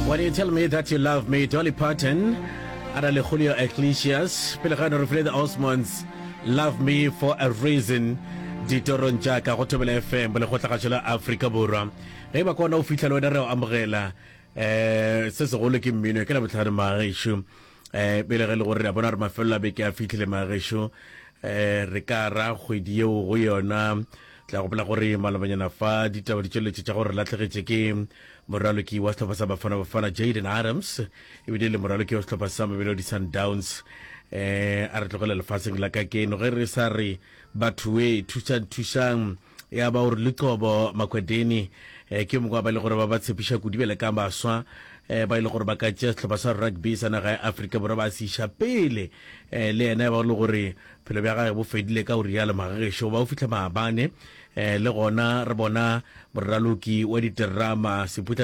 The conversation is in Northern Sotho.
When you tell me that you love me, Dolly Parton, a na le Julio Iglesias, pele ga no re file the Osmonds, Love Me for a Reason, ditorong tša ka go Thobela FM, bolekgotlagašo la Afrika Borwa. Ge e ba kona o fihla le wena re o amogela. Eh, se segolo ke mmino, ke la bohlano magešo. Eh, pele ge le gore re a bona gore mafelelo a beke a fihlile magešo, eh, re ka ra kgwedi yeo go yona. Tla gopola gore malobanyana fa ditaba di tšweletše tša gore re lahlegetše ke moraloki wa sehlopha sa Bafana Bafana Jayden Adams, ebile le moraloki wa sehlopha sa Mamelodi Sundowns eh a re tlogela lefaseng la ka keno ge re sa re batho we thusang thusang ya ba gore Luqobo Makwedeni eh, ke mongwe wa ba e le gore ba ba tshepiša kudu bjale ka baswa eh, ba e le gore ba ka tšea sehlopha sa rugby sa naga ya Afrika Borwa ba se iša pele eh, le yena ya ba le gore Bophelo bja gage bo fedile ka go rialo magagešo ba o fihla maabane. Eh, le gona re bona moraloki wa diterama Seputla.